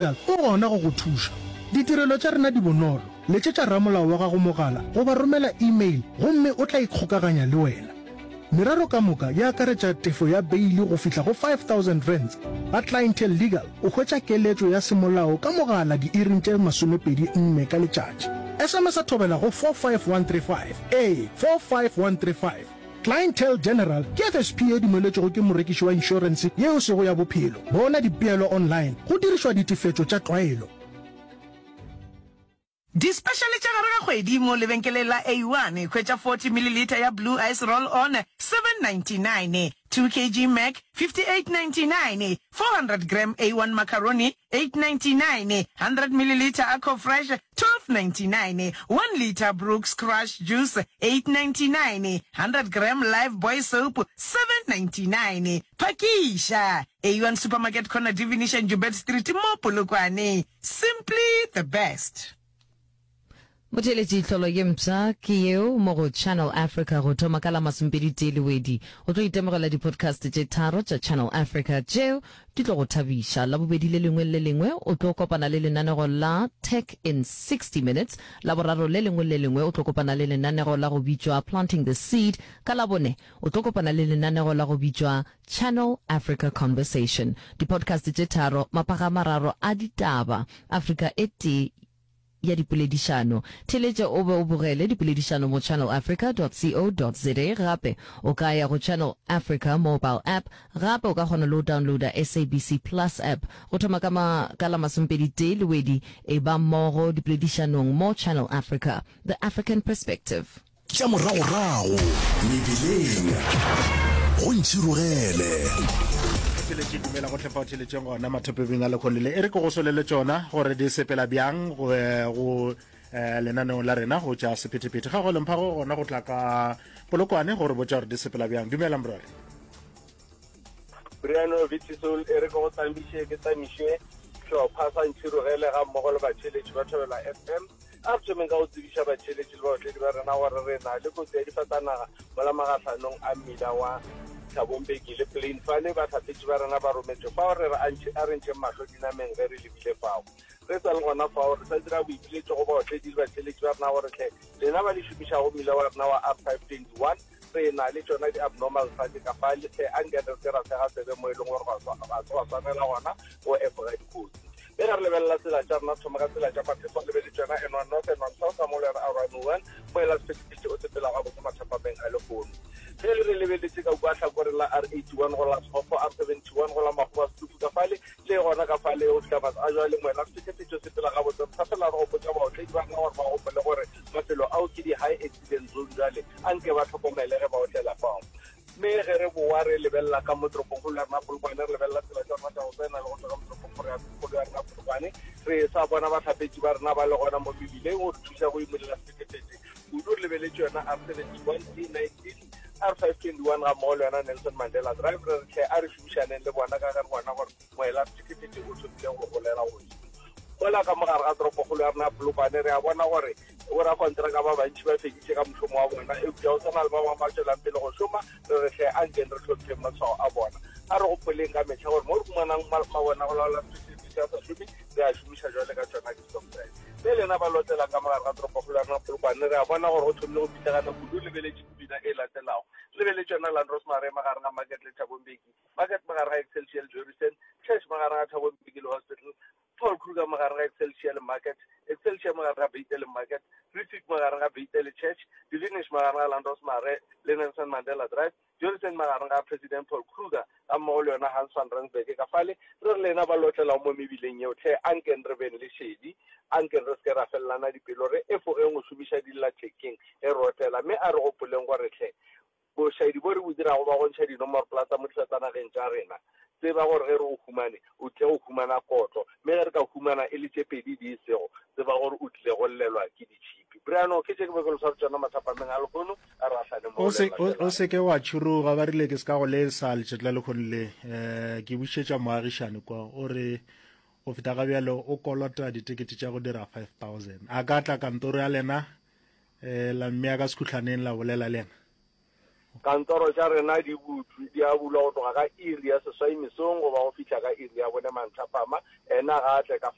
O gona go go thuša. Ditirelo tša rena di bonolo. Letšetša ramolao wa gago mogala goba romela e-mail gomme o tla ikgokaganya le wena. Merero ka moka e akaretša tefo ya beili go fihla go R5000. Ga Clientele Legal o hwetša keletšo ya semolao ka mogala diiring tše 24 ka letšatši. SMS-a thobela go 45135. Ee, 45135. Clientele General ke FSP ye dumeletšwego ke morekiši wa inšorense ye e sego ya bophelo. Bona dipeelo online go dirišwa ditefetšo tša tlwaelo. Dispešale tša gare ga kgwedi mo lebenkeleng la A1, hwetša 40 milliliter ya Blue Ice Roll On, 7.99, 2 kg Mac, 58.99, 400 gram A1 Macaroni, 8.99, 100 milliliter Aqua Fresh, 12.99, 1 litre Brooks Crush Juice, 8.99, 100 gram Lifebuoy Soap, 7.99. Phakiša! A1 Supermarket Corner Divination Joubert Street mo Polokwane. Simply the best. Motheeletši tlholo ye mpsha ke yeo mo go Channel Africa go thoma ka la masomepeditee Lewedi. O tlo itemogela di-podcast tše tharo tša Channel Africa tšeo di tlo go thabiša. Labobedi le lengwe le le lengwe o tlo kopana le lenanego la Tech in 60 Minutes. Laboraro le lengwe le le lengwe o tlo kopana le lenanego la go bitšwa Planting the Seed. Ka Labone o tlo kopana le lenanego la go bitšwa Channel Africa Conversation. Di-podcast tše tharo, maphaga a mararo a ditaba, Afrika e tee ya dipoledišano. Theeletša o be o bogele dipoledišano mo channelafrica.co.za gape o ka ya go Channel Africa mobile app gape o ka kgona le go downloada SABC Plus app go thoma ka ma ka la masomepeditee Lewedi e ba mmogo dipoledišanong mo Channel Africa, The African Perspective. Tša moragorago mebileng go ntšhirogele. Theletše dumela gohle fa o theletšeng gona mathopebeng a lekgone le e re ke go solele tšona gore di sepela bjang go eh, go eh, lenaneong la rena go tša sephethephethe ga go lemphago gona go tla ka polokwane gore botša gore di sepela bjang dumela morware Brian Vitisol e re ke go tsamiše ke tsamiše hlopha sa ntšhirogele ga mmogo le batheeletši ba Thobela FM A re thomeng ka go tsebiša batheeletši le baotledi ba rena gore re na le kotsi ya difatanaga mola magahlanong a mmila wa Thabo Mbeki le Plain. Fale bahlapetši ba rena ba rometšwe fao re re a re ntšheng mahlo dinameng ge re lebile fao. Re sa le gona fao re sa dira boipiletšo go baotledi le batheeletši ba rena gore hle lena ba le šomišago mmila wa rena wa R521 re na le tšona di-abnormal fale ka fale hle anke re se ra sega tsebe mo e leng gore ga se gwa swanela gona go efoga dikotsi. Ge re lebelela tsela tša rena, thoma ka tsela tša maphefo, re lebeletše yona N1 North, N1 South, ga mmogo le yona R101, mo e la sephethephethe o sepela gabotse mathapameng a lehono. Ge re lebeletše ka kua hlakoreng la R81 go la Sekgokgo, R71 go la Makgowa Setufu ka fale, le gona ka fale go fihla mas a jwale moela sephethephethe o sepela gabotse. Re sa fela re gopotša baotledi ba rena gore ba gopole gore mafelo ao ke di-high accident zone, jwale anke ba hlokomele ge ba otlela fao. Mme ge re bowa re lebelela ka mo toropongkgolo ya rena Polokwane, re lebelela tsela tša rena tša go tsena le go tšwa ka mo toropongkgolo ya rena Polokwane, re sa bona bahlapetši ba rena ba le gona mo mebileng go re thuša go imolela sephethephethe kudu. Re lebeletše yona R71, E19, R521 ga mmogo le yona Nelson Mandela Drive. Re re hle a re šomišaneng le bona ka ge re bona gore moela sephethephethe o thomile go golela godimo. Mola ka mo gare ga toropokgolo ya rena ya Polokwane re a bona gore Borakontraka ba bantši ba feditše ka mošomo wa bona, eupša go sa na le ba bangwe ba tšwelang pele go šoma. Re re hle, ankeng re hlompheng matshwao a bona. A re gopoleng ka mehla gore mo re humanang mabone a go laola sephethephethe a sa šome, re a šomiša bjale ka tšona di-stop sign. Ge lena ba lotlelang ka mo gare ga toropokgolo ya rena Polokwane, re a bona gore go thomile go pitlagana kudu. Lebeletše pina e latelago. Lebeletše yona Landros Mare magareng ga Market le Thabo Mbeki, Market magareng ga Excelsior le Jorissen, Church magareng ga Thabo Mbeki le Hospital, Paul Kruger magareng ga Excelsior le Market, Excelsior magareng ga Beite le Market, Riebeek magareng ga Beite le Church, Divinish magareng ga Landos Mare le Nelson Mandela Drive, Jorissen magareng ga President Paul Kruger ga mmogo le yona Hans van Rensburg ka fale. Re re lena ba lotlelago mo mebileng yeo hle ankeng re beng le šedi, ankeng re se ke ra felelana dipelo, re efogeng go šomiša dillathekeng ge re otlela, mme a re gopoleng gore hle Bošaedi bo re bo dirago ba go ntšha dinomoropola tsa mo difatanageng tša rena. Tseba gore ge re o humane, o tlile go humana kotlo, mme ge re ka humana e le tše pedi di e sego, tseba gore o tlile go llelwa ke ditšhipi. Brian, ke tše ke be ke lo sware tšona mathapameng a lehono, a re gahlane mo O go se, le o, o latelago. se ke wa tšhuruga, ba rile ke se ka go lesa letšatši la lehono le. Um ke bušetša moagišani kwa, o re go feta ga bjalo o kolota ditekete tša go dira 5000. A ka tla kantoro ya lena, um la mmea ka sekhuhlaneng la bolela le yena? Kantoro tša rena di butšwe, di a bulwa go tloga ka iri ya seswai mesong go ba go fihla ka iri ya bone manthapama. Ena ga a tle ka.